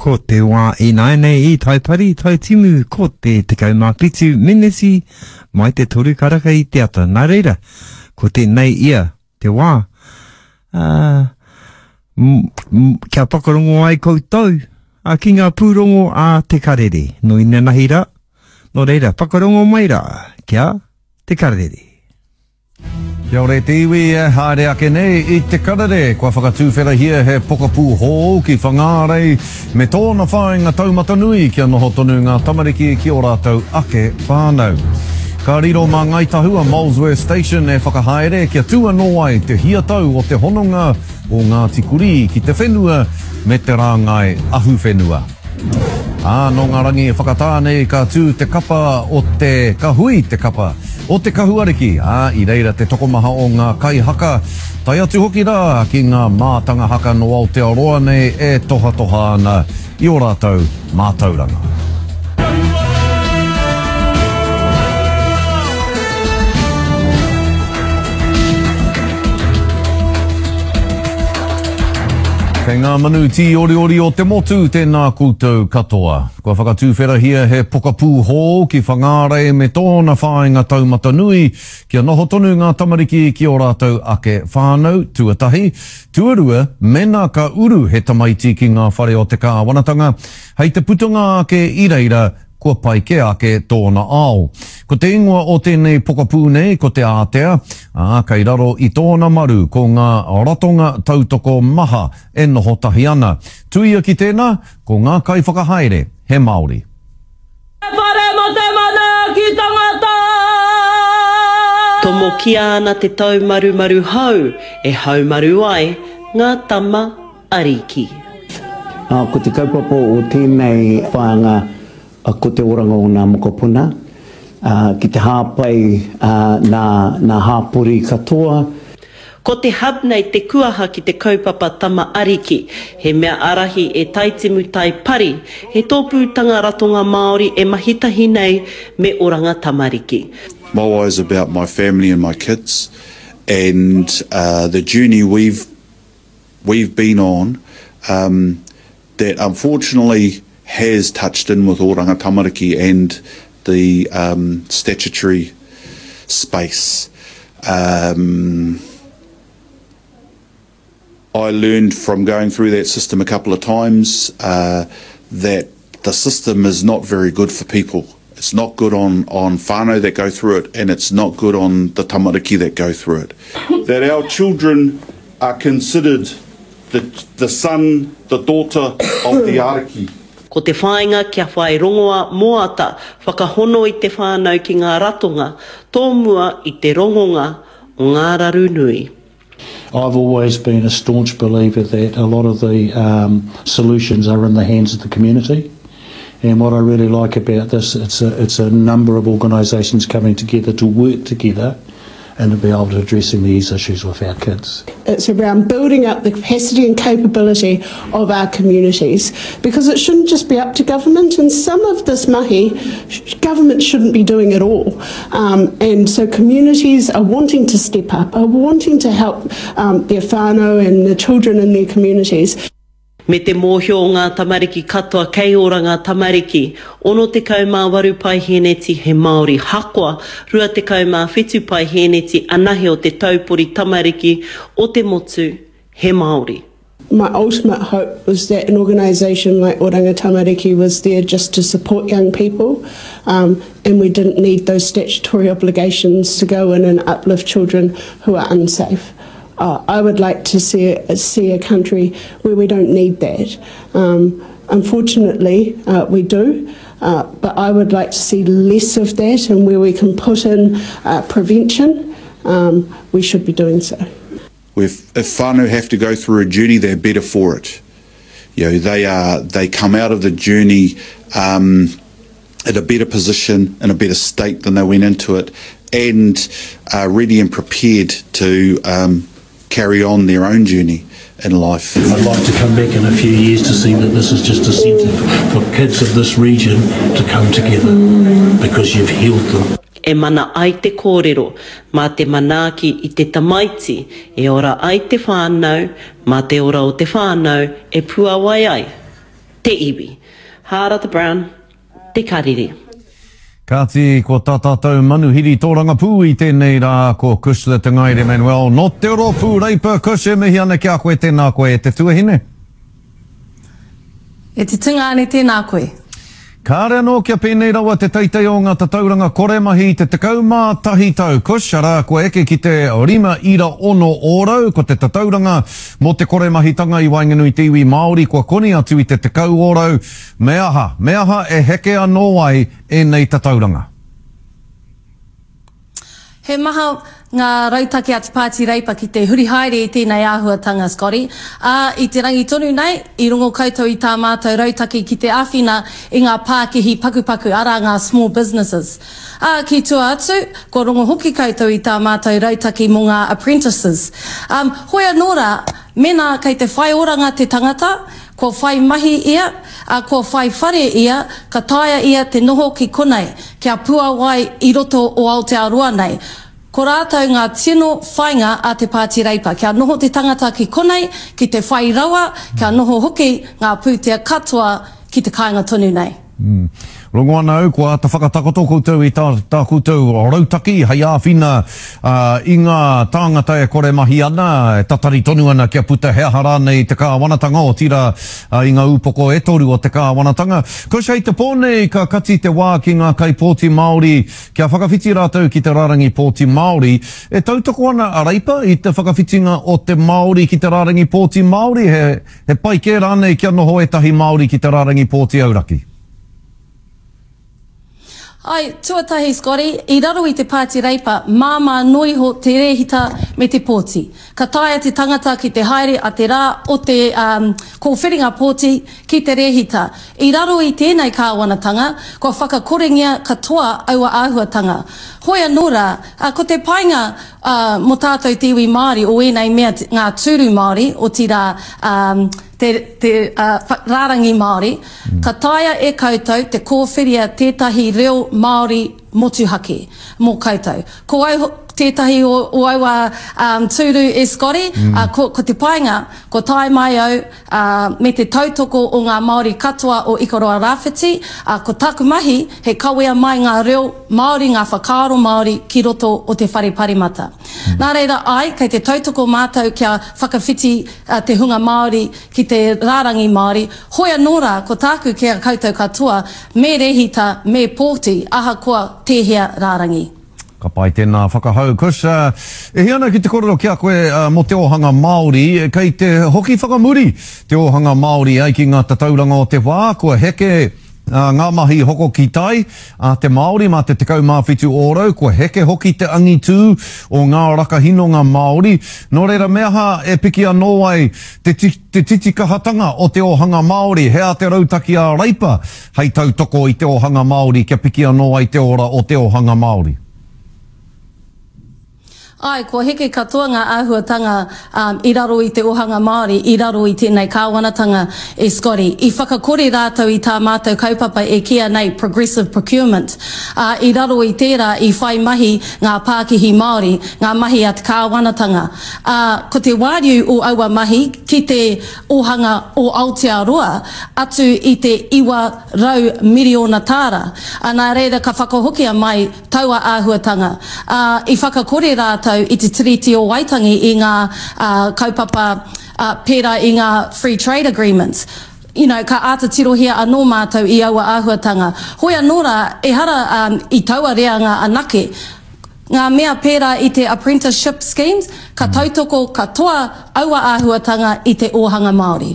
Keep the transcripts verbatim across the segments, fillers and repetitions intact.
Ko te wā ināianei i Taipari, Taitimu, ko te tekau mā whitu meneti mai te toru karaka i te ata. Nā reira, ko tēnei ia te wā, ā, kia whakarongo ai koutou ā, ki ngā pūrongo a Te Karere. Nō inanahi rā, nō reira, whakarongo mai rā kia Te Karere. Kia ora e te iwi e haere ake nei i Te Karere, kua whakatuwherahia he pokapū hou ki Whangārei me tōna whāinga taumata nui kia noho tonu ngā tamariki ki ō rātou ake whānau. Ka riro mā Ngāi Tahu a Molesworth Station e whakahaere kia tū anō ai te hiatau o te hononga o Ngāti Kurī ki te whenua me te rāngai ahuwhenua. Ā, nō ngā rangi e whakatā nei ka tū te kapa o te, ka hui te kapa o te Kahuariki, ā, i reira te tokomaha o ngā kaihaka, tae atu hoki rā ki ngā mātanga haka nō Aotearoa nei e tohatoha ana i ō rātou mātauranga. Kei ngā manu tīoriori o te motu, tēnā koutou katoa. Kua whakatuwherahia he pokapū hou ki Whangārei me tōna whāinga taumata nui kia noho tonu ngā tamariki ki ō rātou ake whānau, tuatahi. Tuarua, mēnā ka uru he tamaiti ki ngā whare o te kāwanatanga, hei te putanga ake i reira, kua pai kē ake tōna ao. Ko te ingoa o tēnei pokapū nei ko Te Ātea, ā, kei raro i tōna maru ko ngā ratonga tautoko maha e noho tahi ana. Tuia ki tēnā, ko ngā kaiwhakahaere he Māori. Te whare mo te manaaki tangata! Tomokia ana te taumarumaru hou e haumaru ai ngā tama ariki. Ā, ko te kaupapa o tēnei whāinga ko te oranga o ngā mokopuna, ā, ki te hāpai nā, nā hāpori katoa. Ko te hub nei te kuaha ki te kaupapa Tama Ariki, he mea ārahi e Taitimu Tai Pari, he tōpūtanga ratonga Māori e mahi tahi nei me Oranga Tamariki. My why is about my family and my kids and the journey we've we've been on um, that unfortunately has touched in with Oranga Tamariki and the um, statutory space. Um, I learned from going through that system a couple of times uh, that the system is not very good for people. It's not good on, on whānau that go through it, and it's not good on the tamariki that go through it. That our children are considered the, the son, the daughter of the ariki. Ko te whāinga kia whai rongoa moata, whakahono i te whānau ki ngā ratonga, tōmua i te rongonga o ngā raru nui. I've always been a staunch believer that a lot of the um, solutions are in the hands of the community. And what I really like about this, it's a, it's a number of organisations coming together to work together and to be able to addressing these issues with our kids. It's around building up the capacity and capability of our communities, because it shouldn't just be up to government, and some of this mahi, government shouldn't be doing at all. Um, and so communities are wanting to step up, are wanting to help, um, their whānau and the children in their communities. Me te mōhio o ngā tamariki katoa kei ora ngā tamariki, ono tekau mā waru paihēneti he Māori hakoa, rua tekau mā whitu paihēneti anahe o te taupori tamariki o te motu he Māori. My ultimate hope was that an organisation like Oranga Tamariki was there just to support young people, um, and we didn't need those statutory obligations to go in and uplift children who are unsafe. Uh, I would like to see a, see a country where we don't need that. Um, unfortunately, uh, we do, uh, but I would like to see less of that, and where we can put in, uh, prevention, um, we should be doing so. If, if whānau have to go through a journey, they're better for it. You know, they are, they come out of the journey, um, in a better position, in a better state than they went into it, and are ready and prepared to, um, carry on their own journey in life. I'd like to come back in a few years to see that this is just a centre for kids of this region to come together, because you've healed them. E mana ai te kōrero, mā te manaaki i te tamaiti, e ora ai te whānau, mā te ora o te whānau e puawai ai te iwi. Hārata Brown, Te Karere. Kāti, ko tā tātou manuhiri tōrangapū i tēnei rā, ko Cushla Te Ngaere Manuel nō te rōpū Reipa. Cush, e mihi ana ki a koe, tēnā koe e te tuahine. E te tungāne, tēnā koe. Kāre anō kia pēnei rawa te teitei o ngā tatauranga kore mahi i te tekau mā tahi tau. Cush, arā, kua eke ki te rima ira ono ōrau, ko te tatauranga mō te kore mahitanga i waenganui te iwi Māori kua koni atu i te tekau ōrau. Me aha, me aha e heke anō ai ēnei tatauranga? He maha ngā rautaki a te Pāti Reipa ki te huri haere i tēnei āhuatanga, Scotty. Ā, i te rangi tonu nei, i rongo koutou i tā mātou rautaki ki te āwhina i ngā pākihi pakupaku, arā ngā small businesses. Ā, ki tua atu, kua rongo hoki koutou i tā mātou rautaki mō ngā apprentices. Ā, hoi anō rā, mēnā kei te whai oranga te tangata, kua whai mahi ia, ā, kua whai whare ia, ka taea ia te noho ki konei, kia puāwai i roto o Aotearoa nei. Ko rātou ngā tino whainga a te Pāti Reipa, kia noho te tangata ki konei, ki te whai rawa, kia noho hoki ngā pūtea katoa ki te kāinga tonu nei. Mm. Rongo ana au, kua āta whakatakoto koutou i tā, tā koutou rautaki hei āwhina uh, i ngā tāngata e kore mahi ana, e tatari tonu ana kia puta he aha rānei te kāwanatanga, otirā uh, i ngā upoko e toru o te kāwanatanga. Kush, hei te pō nei ka kati te wā ki ngā kaipōti Māori kia whakawhiti rātou ki te rārangi pōti Māori. E tautoko ana a Reipa i te whakawhitinga o te Māori ki te rārangi pōti Māori, he, he pai kē rānei kia noho ētahi Māori ki te rārangi pōti auraki? Ai, tuatahi, Scotty, i raro i te Pāti Reipa, māmā noa iho te rēhita me te pōti. Ka taea te tangata ki te haere a te rā o te um, kōwhiringa pōti ki te rēhita. I raro i tēnei kāwanatanga, kua whakakorengia katoa aua āhuatanga. Hoi anō rā, ko te painga uh, mō tātou te iwi Māori o ēnei mea ngā tūru Māori, otirā um, te, te uh, rārangi Māori, mm. ka taea e koutou te kōwhiria tētahi reo Māori motuhake mō koutou. Ko au tētahi o, o aua um, tūru e Scotty, mm. uh, ko, ko te painga, ko tae mai au uh, me te tautoko o ngā Māori katoa o Ikaroa Rāwhiti, uh, ko taku mahi he kawea mai ngā reo Māori, ngā whakaaro Māori ki roto o te whare parimata. Mm. Nā reira ai, kei te tautoko mātou kia whakawhiti uh, te hunga Māori ki te rārangi Māori. Hoi anō rā, ko tāku ki a koutou katoa, me rehita, me pōti, ahakoa tēhea rārangi. Ka pai tēnā whakahau. Kush, uh, e hia ana ki te kōrero ki a koe uh, mō te ōhanga Māori, kei te hoki whakamuri te ōhanga Māori ai ki ngā tatauranga o te wā, kua heke uh, ngā mahi hoko ki tai a te Māori mā te tekau mā whitu ōrau, kua heke hoki te angitū o ngā rakahinonga Māori. Nō reira me aha e piki anō ai te, te titikahatanga o te ōhanga Māori, he a te rautaki a Reipa hei tautoko i te ōhanga Māori kia piki anō ai te ora o te ōhanga Māori. Ai, kua heke katoa ngā āhuatanga um, i raro i te ōhanga Māori, i raro i tēnei kāwanatanga e Scotty. I whakakore rātou i tā mātou kaupapa e kīa nei progressive procurement. Uh, i raro i tērā i whai mahi ngā pākihi Māori, ngā mahi a te kāwanatanga. Uh, ko te wāriu o aua mahi ki te ōhanga o Aotearoa atu i te iwa rau miriona tāra. Uh, nā reira ka whakahokia mai taua āhuatanga. Uh, i whakakore rātou i te Tiriti o Waitangi i ngā uh, kaupapa uh, pērā i ngā free trade agreements. You know, ka āta tirohia anō mātou i aua āhuatanga. Hoi anō rā, ehara um, i taua reanga anake. Ngā mea pērā i te apprenticeship schemes, ka tautoko katoa aua āhuatanga i te ōhanga Māori.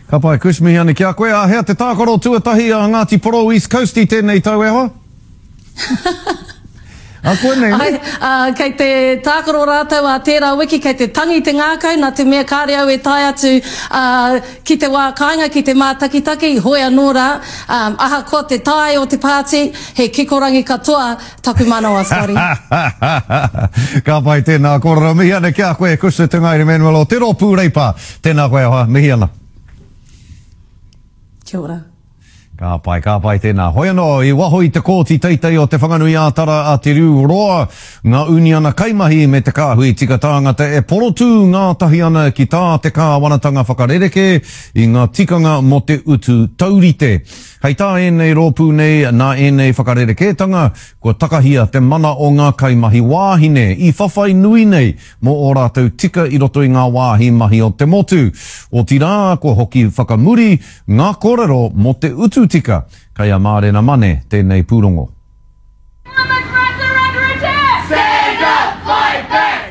Ka pai, Kush, mihi ana ki a koe. Āhea te tākaro tuatahi a Ngāti Porou East Coast i tēnei tau e hoa? A koe nei, Ai, uh, kei te tākaro rātou a tērā wiki, kei te tangi te ngākau, nā te mea kāre au e tae atu uh, ki te wā kāinga, ki te mātakitaki, hoi anō rā, um, ahakoa te tae o te pāti, he kikorangi katoa taku manawa, Scotty. Ka pai tēnā kōrero, mihi ana ki a koe, Cushla Te Ngaere Manuel o Te Rōpū Reipa. Tēnā koe ahoa, mihi ana. Kia ora. Ka pai, ka pai tēnā. Hoi anō, i waho i te kōti teitei o Te Whanganui-ā-Tara a Te Riu Roa, ngā uniana kaimahi me te kāhui tika tāngata e porotū ngātahi ana ki tā te kāwanatanga whakarerekē i ngā tikanga mō te utu taurite. Hei tā ēnei rōpū nei, nā ēnei whakarerekētanga, kua takahia te mana o ngā kaimahi wāhine i whawhai nui nei mō ō rātou tika i roto i ngā wāhi mahi o te motu. Otirā, kua hoki whakamuri ngā kōrero mō te utu tika. Kei a Mārena Mane tēnei pūrongo.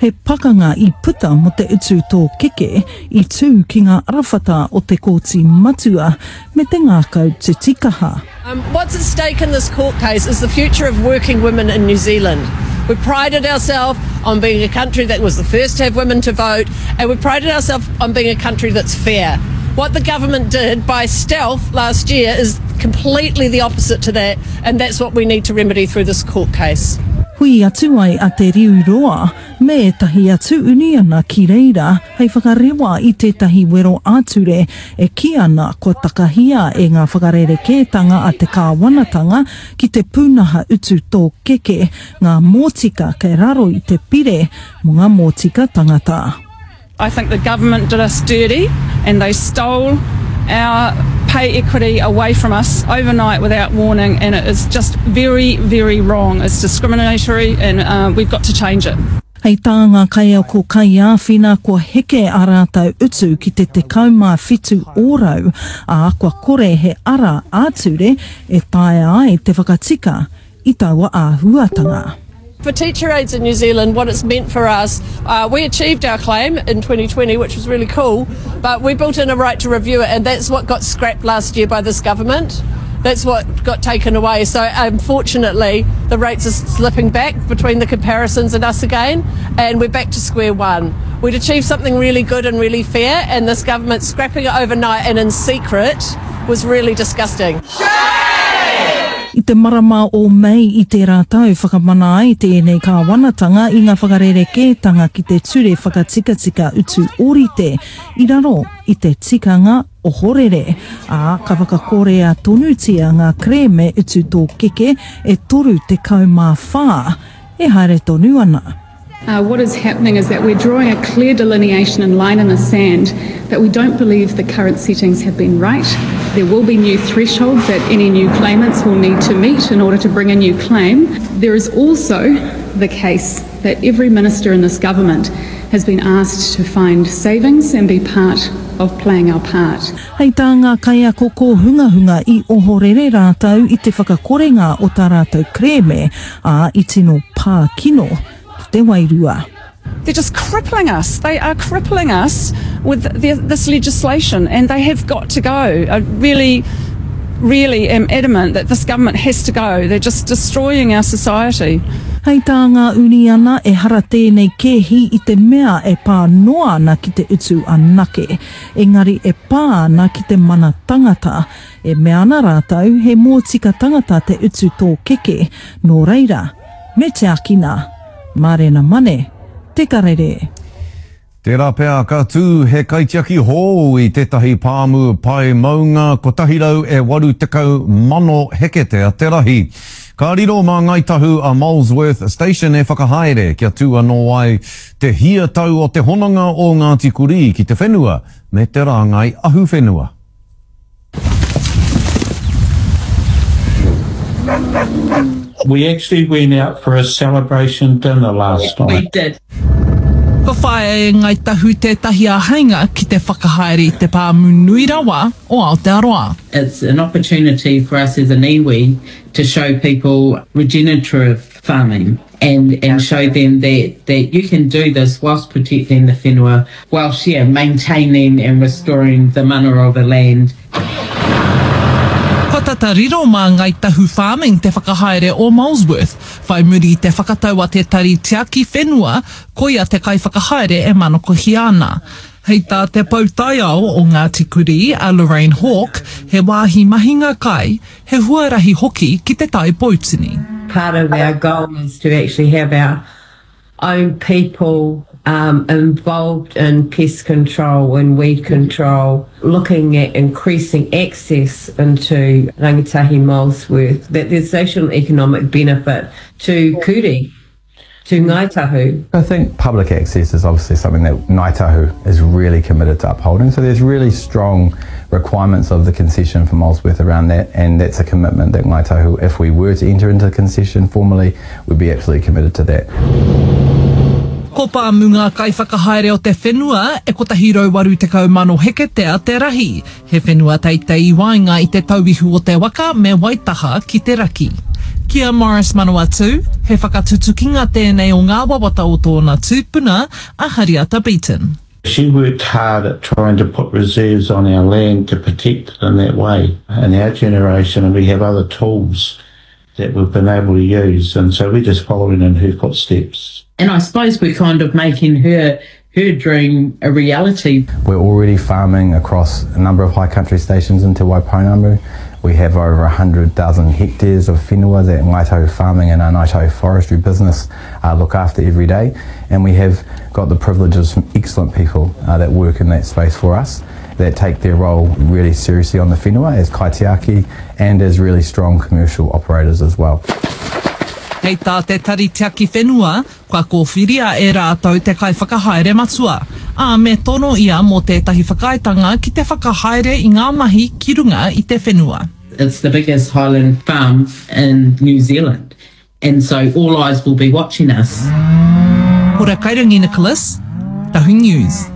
He pakanga i puta mō te utu tōkeke i tū ki ngā arawhata o te Kōti Matua me te ngākau titikaha. Um, what's at stake in this court case is the future of working women in New Zealand. We prided ourselves on being a country that was the first to have women to vote, and we prided ourselves on being a country that's fair. What the government did by stealth last year is completely the opposite to that, and that's what we need to remedy through this court case. Hui atu ai a Te Riu Roa me ētahi atu uniana ki reira hei whakarewa i tētahi wero ā-ture e kī ana kua takahia e ngā whakarerekētanga a te kāwanatanga ki te pūnaha utu tōkeke ngā mōtika kei raro i te pire mō ngā mōtika tangata. I think the government did us dirty and they stole our pay equity away from us overnight without warning, and it is just very, very wrong. It's discriminatory and uh, we've got to change it. Hei tā ngā kaiako kaiāwhina kua heke a rātou utu ki te tekau mā whitu ōrau, ā, kua kore he ara ā-ture e taea ai te whakatika i taua āhuatanga. For teacher aides in New Zealand, what it's meant for us, uh, we achieved our claim in twenty twenty, which was really cool, but we built in a right to review it, and that's what got scrapped last year by this government. That's what got taken away. So unfortunately, the rates are slipping back between the comparisons and us again, and we're back to square one. We'd achieved something really good and really fair, and this government scrapping it overnight and in secret was really disgusting. I te marama o Mei i tērā tau whakamana ai tēnei kāwanatanga i ngā whakarerekētanga ki te ture whakatikatika utu ōrite i raro i te tikanga ohorere, ā, ka whakakorea tonutia ngā kerēme utu tōkeke e toru tekau mā whā e haere tonu ana. Uh, what is happening is that we're drawing a clear delineation and line in the sand that we don't believe the current settings have been right. There will be new thresholds that any new claimants will need to meet in order to bring a new claim. There is also the case that every minister in this government has been asked to find savings and be part of playing our part. Hei tā ngā kaiako kōhungahunga i ohorere rātou i te whakakorenga o tā rātou kerēme, ā, i tino pā kino ki te wairua. They're just crippling us. They are crippling us with the, this legislation, and they have got to go. I really, really am adamant that this government has to go. They're just destroying our society. Hei tā ngā uniana ehara tēnei kēhi i te mea e pā noa ana ki te utu anake, engari e pā ana ki te mana tangata. E mea ana rātou he mōtika tangata te utu tōkeke, nō reira, me tiakina. Mārena Mane, Te Karere. Tērā pea ka tū he kaitiaki hou i tētahi pāmu pae maunga kotahi rau e waru tekau mano heketea te rahi. Ka riro mā Ngāi Tahu a Molesworth Station e whakahaere kia tū anō ai te hia tau o te hononga o Ngāti Kurī ki te whenua me te rāngai ahuwhenua. We actually went out for a celebration dinner last night. We did. Kua whāia e Ngāi Tahu tētahi āheinga ki te whakahaere i te pāmu nui rawa o Aotearoa. It's an opportunity for us as an iwi to show people regenerative farming and, and show them that, that you can do this whilst protecting the whenua, whilst yeah, maintaining and restoring the mana of the land. Kua tata riro mā Ngāi Tahu Farming te whakahaere o Molesworth, whai muri i te whakatau a te Tari Tiaki Whenua, koia te kaiwhakahaere e manakohia ana. Hei tā te pou taiao o Ngāti Kurī, a Lorraine Hawke, he wāhi mahinga kai, he huarahi hoki ki te Tai Poutini. Part of our goal is to actually have our own people um, involved in pest control and weed control, looking at increasing access into Rangitahi Molesworth, that there's social and economic benefit to Kuri, to Ngāi Tahu. I think public access is obviously something that Ngāi Tahu is really committed to upholding. So there's really strong requirements of the concession for Molesworth around that, and that's a commitment that Ngāi Tahu, if we were to enter into the concession formally, would be absolutely committed to that. Ko Pāmu ngā kaiwhakahaere o te whenua e kotahi rau waru tekau mano heketea te rahi. He whenua teitei i waenga i te tauihu o te waka me Waitaha ki te raki. Ki a Morris Manawatu, he whakatutukinga tēnei o ngā wawata o tōna tūpuna a Hariata Beaton. She worked hard at trying to put reserves on our land to protect it in that way. In our generation, and we have other tools that we've been able to use, and so we're just following in her footsteps. And I suppose we're kind of making her her dream a reality. We're already farming across a number of high country stations in Te Waipounamu. We have over a hundred thousand hectares of whenua that Ngāi Tahu Farming and our Ngāi Tahu Forestry business, uh, look after every day. And we have got the privilege of some excellent people, uh, that work in that space for us, that take their role really seriously on the whenua as kaitiaki and as really strong commercial operators as well. Hei tā te Tari Tiaki Whenua, kua kōwhiria e rātou te kaiwhakahaere matua. Ā, me tono ia mō tētahi whakaaetanga ki te whakahaere i ngā mahi ki runga i te whenua. It's the biggest highland farm in New Zealand, and so all eyes will be watching us. Hora Kairangi Nicholas, Tahu News.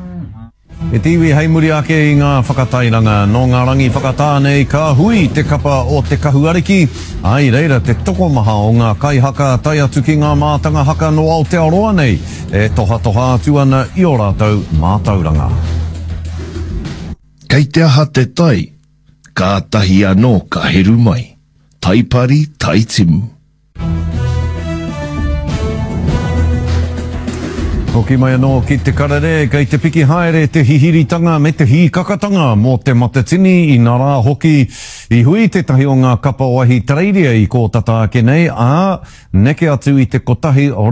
E te iwi hei muri ake i ngā whakatairanga. Nō ngā rangi whakatā nei ka hui te kapa o te Kahuariki. Ai reira te tokomaha o ngā kaihaka tae atu ki ngā mātanga haka no Aotearoa nei e tohatoha atu ana i o rātou mātauranga. Kei te aha te tai, kātahi anō ka heru mai. Taipari, taitimu. Hoki mai anō ki te karere, kei te piki haere te hihiritanga me te hīkakatanga mō te matatini i nā rā hoki i hui tētahi o ngā kapa o Ahitereiria i kōtata ake nei, ā, neke atu i te kotahi rau